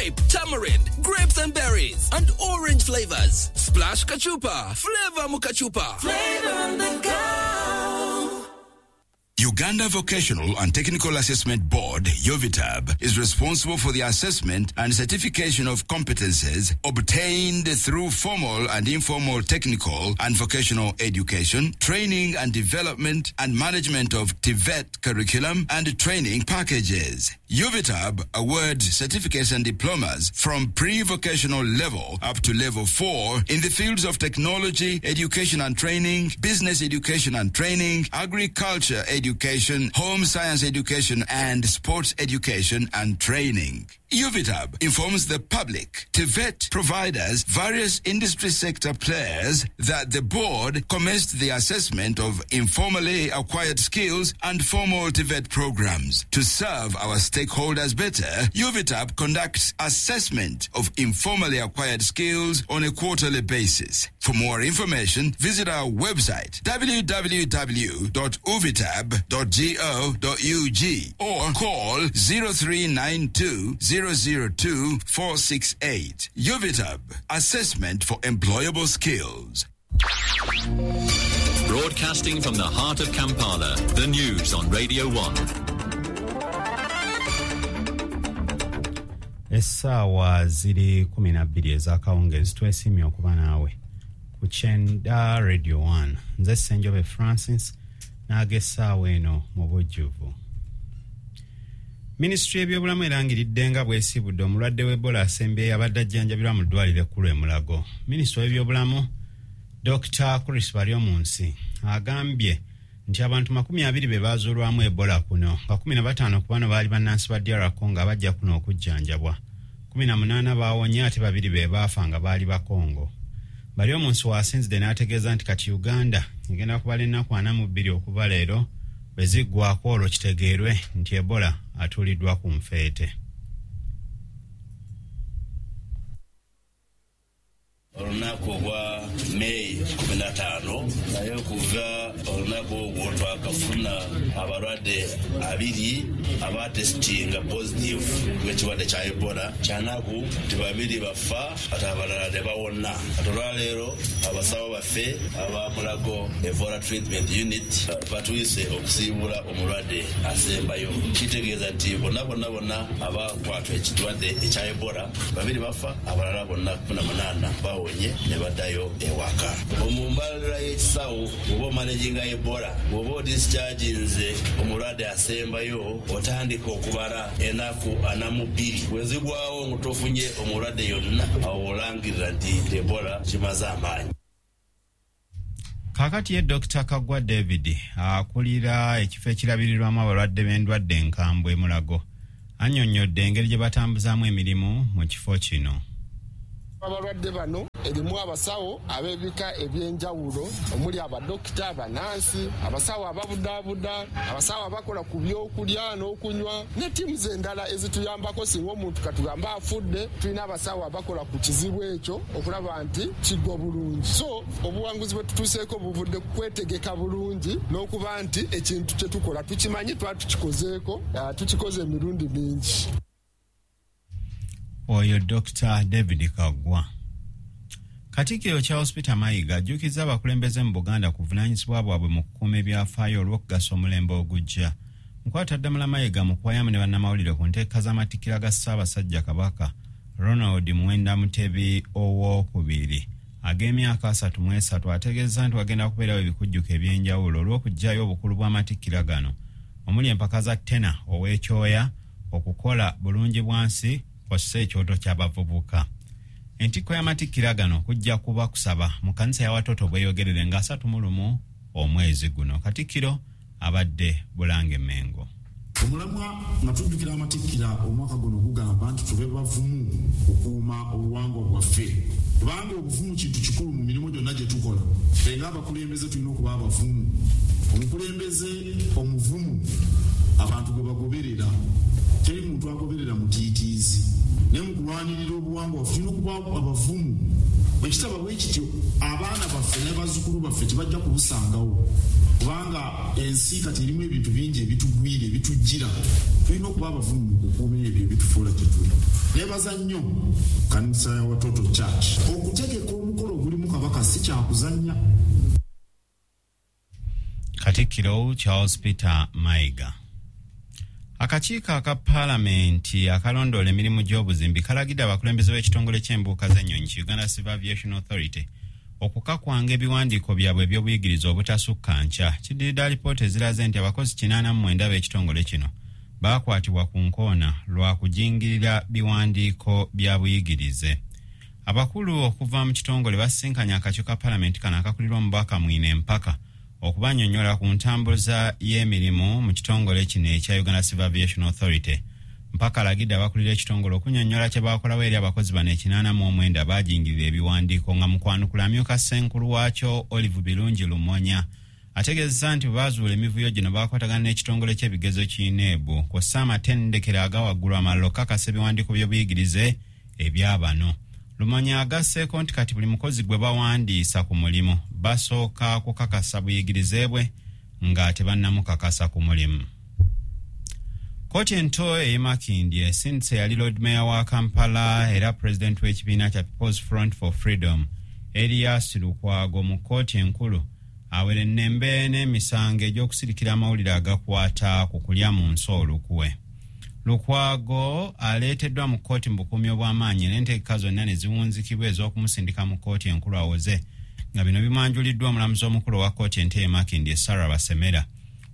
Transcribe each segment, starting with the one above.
Grape, tamarind, grapes and berries, and orange flavors. Splash Kachupa. Flavor Mukachupa. Flavor on the go. Uganda Vocational and Technical Assessment Board, UVTAB, is responsible for the assessment and certification of competences obtained through formal and informal technical and vocational education, training and development, and management of TVET curriculum and training packages. UVTAB awards certificates and diplomas from pre-vocational level up to level 4 in the fields of technology, education and training, business education and training, agriculture education, home science education, and sports education and training. UVTAB informs the public, TVET providers, various industry sector players that the board commenced the assessment of informally acquired skills and formal TVET programs. To serve our stakeholders better, UVTAB conducts assessment of informally acquired skills on a quarterly basis. For more information, visit our website www.uvitab.go.ug or call 0392 002 468. UVTAB, assessment for employable skills. Broadcasting from the heart of Kampala, the news on Radio 1. Essaawa ziri 12 ez'akawungeezi. Twesiimye okuba naawe ku Kyenda Radio 1. Nze Ssenjobe Francis n'ag'essaawa eno mu bujjuvu. Minisitule y'ebyobulamu erangiridde nga bwesiibudde omulwadde w'Ebola asembyeyo abadde ajjanjabirwa mu ddwaliro ekkulu e Mulago. Minisita w'ebyobulamu Dr Chris Baryomunsi agambye nti abantu 20 be baazuulwamu Ebola kuno, nga 15 ku bano baali bannansi ba DR Congo abajja kuno okujjanjabwa. 18 baawonye ate 2 be baafa nga baali Bakongo. Baryomunsi waasinzidde n'ategeeza nti kati Uganda egenda kubala ennaku 42 okuva leero, bwe ziggwako olwo kitegeerwe nti Ebola atuuliddwa ku nfeete. Olunaku ogwa May 15, naye okuva olunaku ogwo twakafuna abalwadde 2 abatesitinga positive ekirwadde kya Ebola. Kyanaku nti 2 bafa ate abalala tebawona. Ate olwaleero abasawo baffe aba Mulago Ebola Treatment Unit batuyise okusiibula omulwadde asembayo. Kitegeeza nti bonna bonna bonna abakwatwa ekirwadde ekya Ebola 2 bafa, abalala bonna 18 bawonye ne baddayo ewaka. Mu mbalira y'ekisawo bw'oba omanaginga Ebola, bw'oba odischarginze omulwadde asembayo, otandika okubala ennaku 42. Bwe zigwawo nga tofunye omulwadde yonna, awo olangirira nti Ebola kimaze amaanyi. Kaakati ye Dr Kaggwa David akulira ekifo ekirabirirwamu abalwadde b'endwadde enkambwe e Mulago annyonnyodde engeri gye batambuzaamu emirimu mu kifo kino. Abalwadde bano erimu abasawo ab'ebika ebyenjawulo omuli abadokita, abanansi, abasawo ababudaabuda, abasawo abakola ku byokulya n'okunywa ne ttiimu endala ezituyambako. Singa omuntu katugamba afudde, tulina abasawo abakola ku kizibu ekyo okulaba nti kiggwa bulungi. So obuwanguzi bwe tutuuseeko buvudde kwetegeka bulungi n'okuba nti ekintu kye tukola tukimanyi, twatukikozeeko, tukikoze emirundi mingi. Oyo Dr David Kaggwa. Katikkiro Charles Peter Mayiga ajjukiza abakulembeze mu Buganda ku buvunaanyizibwa bwabwe mu kukuuma ebyafaayo olw'okugasa omulembe ogujja. Mukwataddamula Mayiga mu kuwayamu ne bannamawulire ku nteeka z'amatikkira ga Ssaabasajja Kabaka Ronald Muwenda Mutebi Owookubiri ag'emyaka 33 ategeeza nti wagenda kubeerawo ebikujjuko ebyenjawulo olw'okuggyayo obukulu bw'amatikkira gano omuli empaka za Tena ow'ekyoya, okukola bulungi bwansi kw'ossa ekyoto ky'abavubuka. Entikko y'amatikkira gano kujja kuba kusaba mu kkanisa ya Watoto bweyogerere nga 31 omwezi guno. Katikkiro abadde Bulange Mengo. Omulamwa nga tujjukira amatikkira omwaka guno gugamba nti tube bavumu okukuuma obuwangwa bwaffe, kubanga obuvumu kintu kikulu mu mirimu gyonna gye tukola. Ffe ng'abakulembeze tulina okuba abavumu. Omukulembeze omuvumu abantu gwe bagoberera, teri muntu agoberera mutiitiizi. Naye mu kulwanirira obuwangwa bwaffe tulina okuba abavumu Bwe kitaba bwe kityo, abaana baffe ne bazzukulu baffe tebajja kubusangawo, kubanga ensi kati erimu ebintu bingi ebitugwira, ebitujjira. Tulina okuba abavumu mu kukuuma ebyo ebitufuula kye tuli. Neebaza nnyo kanisa ya Watoto Church okutegeka omukolo ogulimu Kabaka, si kyakuzannya. Katikkiro Charles Peter Mayiga. Akakiiko aka Paalamenti akalondoola emirimu gy'obuzimbi kalagidde abakulembeze b'ekitongole ky'embuuka z'ennyonyi ki Uganda Civil Aviation Authority okukakwanga ebiwandiiko byabwe eby'obuyigirize obutasukka nkya. Kiddiridde alipoota eziraze nti abakozi 89 b'ekitongole kino baakwatibwa ku nkoona lwa kujingirira biwandiiko bya buyigirize. Abakulu okuva mu kitongole basisinkanye akakiiko ka Paalamenti kano akakulirwa omubaka Mwine Empaka okubanyonnyola ku ntambuza y'emirimu mu kitongole kino ekya Uganda Civil Aviation Authority. Mpaka alagidde abakulira ekitongole okunyonnyola kye baakolawo eri abakozi bano 89 baajingirira ebiwandiiko. Nga mu kwanukula, amyuka ssenkulu waakyo Olive Birungi Lumonya ategeezezza nti bwe baazuula emivuyo gino, baakwatagana n'ekitongole ky'ebigezo ki UNEB kw'ossa amatendekero aga waggulu amalala okukakasa ebiwandiiko by'obuyigirize ebyabano. Lumonya agasseeko nti kati buli mukozi gwe bawandiisa ku mulimu basooka kukakasa buyigirize bwe nga tebannamukakasa ku mulimu. Kkooti ento ey'e Makindye esindise yali Lord Mayor wa Kampala era Pulezidenti w'ekibiina kya People's Front for Freedom, Erias Lukwago, mu kkooti enkulu awerennembe n'emisango egy'okusirikira amawulire agakwata ku kulya mu nsi olukwe. Lukwago aleeteddwa mu kkooti mu bukuumi obw'amaanyi n'entegeka zonna ne ziwunzikibwa ez'okumusindika mu kkooti enkulu awoze, nga bino bimwanjuliddwa omulamuzi omukulu owa kkooti ento e Makindye, Sarah Basemera.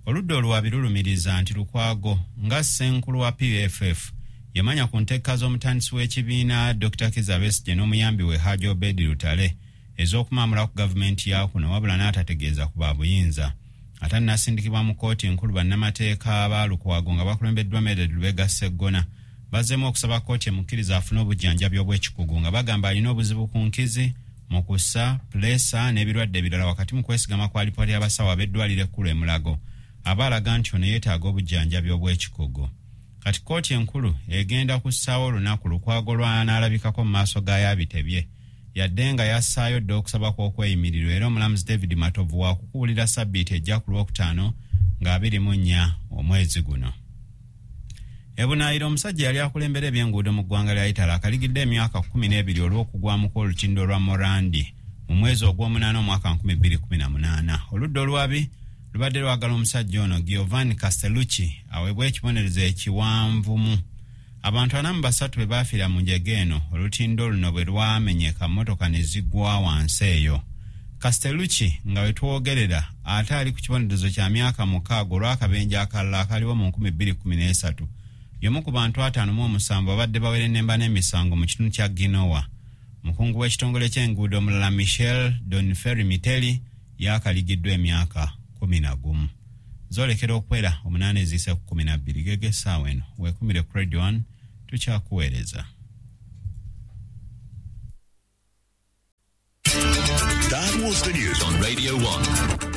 Oludda oluwabi lulumiriza nti Lukwago nga ssenkulu wa PFF yamanya ku ntegeka z'omutandisi w'ekibiina Dr Kizza Besigye n'omuyambi we Haji Obedi Lutale ez'okumaamula ku gavumenti ya kuno, wabula n'atategeeza ku babuyinza. Ate annasindikibwa mu kkooti enkulu, bannamateeka ba Lukwago nga bakulembeddwa Medard Lubega Sseggona bazzeemu okusaba kkooti emukkiriza afune obujjanjabi obw'ekikugu, nga bagamba alina obuzibu ku nkizi mu kussa puleesa n'ebirwadde ebirala, wakati mu kwesigama ku alipoota y'abasawo ab'eddwaliro ekkulu e Mulago aba alaga nti ono yeetaaga obujjanjabi obw'ekikugu. Kati kkooti enkulu egenda kussaawo olunaku Lukwago lw'anaalabikako mu maaso ga yabitebye, yadde nga yassaayo dda okusaba kw'okweyimirirwa, era omulamuzi David Matovu waakukuwulira sabbiiti ejja ku Lwokutaano nga 24 omwezi guno. Ebunaayira, omusajja yali akulembera ebyenguudo mu ggwanga lya Italy akaligidde emyaka 12 olw'okugwamu kw'olutindo lwa Morandi mu mwezi ogw'omunaana omwaka 2018. Oludda olwabi lubadde lwagala omusajja ono Giovanni Castellucci aweebwe ekibonerezo ekiwanvumu. Abantu 43 bwe baafiira mu njega eno olutindo luno bwe lwamenyeka, mmotoka ne zigwa wansi eyo. Castellucci nga we twogerera ate ali ku kibonerezo kya myaka 6 olw'akabenje akalala akaliwo mu 2013. Y'omu ku bantu 57 abadde bawerennemba n'emisango mu kitundu kya Ginowa. Mukungu w'ekitongole ky'enguudo omulala Michel Doniferi Miteli yakaligiddwa emyaka 11. Zolekera okwera 8 eziyise ku 12 gege essaawa eno. Weekumire ku Radio 1, tukyakuweereza. That was the news on Radio 1.